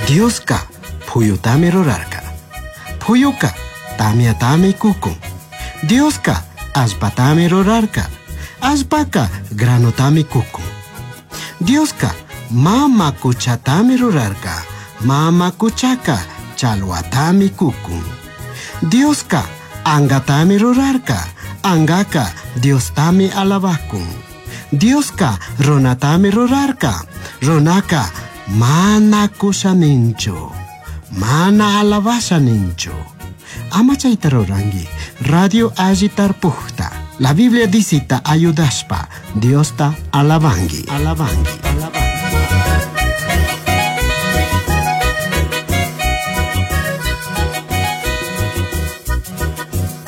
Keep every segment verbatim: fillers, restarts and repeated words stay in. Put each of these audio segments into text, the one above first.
Dioska puyutami rurarka. Puyuka tamyatami kukun. Dioska allpatami rurarka. Allpaka granotami kukun. Dioska mama kuchatami rurarka. Mama kuchaka chalwatami kukun. Dioska angatami rurarka. Angaka Diostami alabakun. Dioska runatami rurarka. Runaka mana kushaninchu. Mana alabasha ninchu. Ama chayta rurangi. Radio alli tarpujta. La Biblia disita ayudashpa. Diosta alabangi. Alabangi. Alabangi.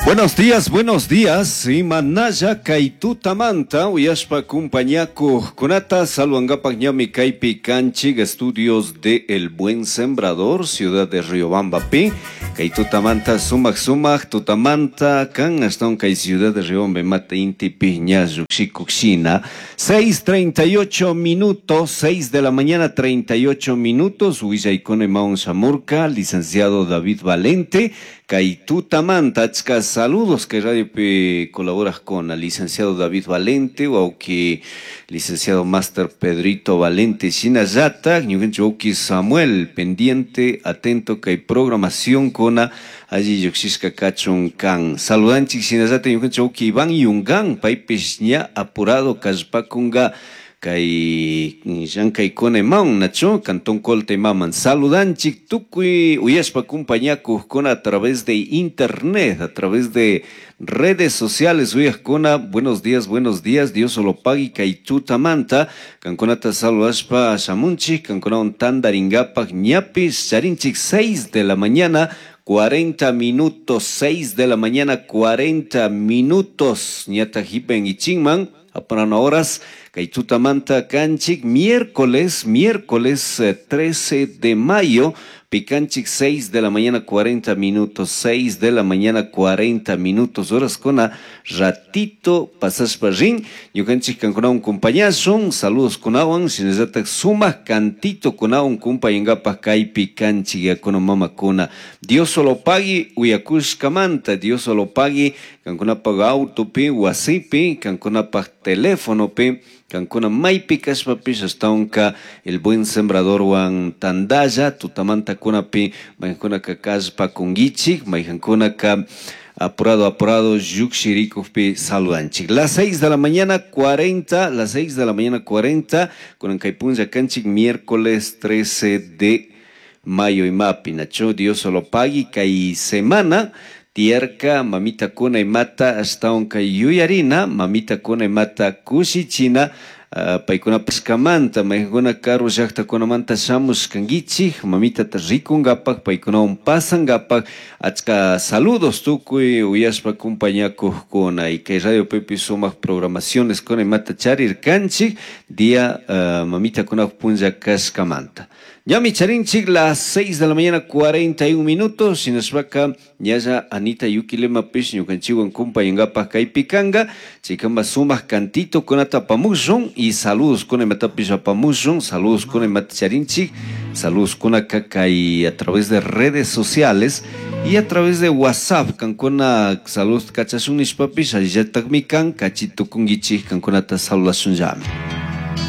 Buenos días, buenos días. Imanaya kaytutamanta uyashpa kumpañakuq kunata saludangapak ñami kaypi kanchik estudios de El Buen Sembrador, ciudad de Riobamba pi. Kaytutamanta sumaq sumaq tutamanta kan ashtawan kay ciudad de Riobamba mata intipi ña lluqshikuqshina. seis treinta y ocho minutos, seis de la mañana treinta y ocho minutos. Willaykuna imawan shamurka, licenciado David Valente. Kaytutamanta achka saludos que Radio P colaboras con al licenciado David Valente, o que licenciado Máster Pedrito Valente Shinayata, ñukanchik Samuel, pendiente, atento que hay programación con allí lluqshishka kachun kan. Saludanchik shinallata ñukanchik Iván Yungan, paypish ña apurado kallpakunga kay llank'aykuna imawan nachu Cantón Colta imaman. Saludanchik tukuy uyashpa kumpañakuqkuna a través de internet, a través de redes sociales uyaqkuna. Buenos días, buenos días, Dios solo pagui kay tutamanta kankunata saludashpa shamunchik kankunawan tandaringapak ñapis charinchik seis de la mañana cuarenta minutos, seis de la mañana cuarenta minutos ñata hipen ichinman aparan horas kay tutamanta kanchik miércoles, miércoles trece de mayo, picanchik seis de la mañana cuarenta minutos, seis de la mañana cuarenta minutos, horas con a ratito pasashpa rin, ñukanchik kankunawan kumpañashun, saludos kunawan, shinallatak sumaq cantito kunawan kumpañangapak kaypi kanchik yakuna mamakuna. Dios solo pagui uyakushkamanta, Dios solo pagui kankunapak autopi, wasipi, kankunapak teléfonopi, kankuna maypi kashpapish ashtawanka El Buen Sembradorwan tandalla tutamanta kunapi mayjankunaka kallpa kunkichik, mayjankunaka apurado apurado lluqshirikuqpi saludanchik. Las seis de la mañana cuarenta, las seis de la mañana cuarenta, kunan kay punlla kanchik miércoles trece de mayo imapi, nacho Dios solo pagui kay semana tierka mamita kuna imata ashtawan kay yuyarina mamita kuna imata kushichina uh, paykuna pishkamanta mayjankuna karu llaqtakunamanta shamushkankichik mamitata rikungapak paykunawan pasangapak achka saludos tukuy uyashpa kumpañakuqkuna y kay Radio Pepe sumaq programaciones kuna imata charirkanchik día uh, mamita kuna punlla kashkamanta. Ñami charinchik las seis de la mañana cuarenta y un minutos, shinashpaka ñalla Anita Yuquilema pish ñukanchikwan kumpañangapak kaypi kanga, chaykama sumaq cantito kunata apamushun y saludos kuna imatapish apamushun, saludos kuna imata charinchik, saludos kunaka kay a través de redes sociales y a través de WhatsApp, kankuna saludos kachashun nishpapish allillatakmi kan kachitukunkichik kankunata saludashun llami.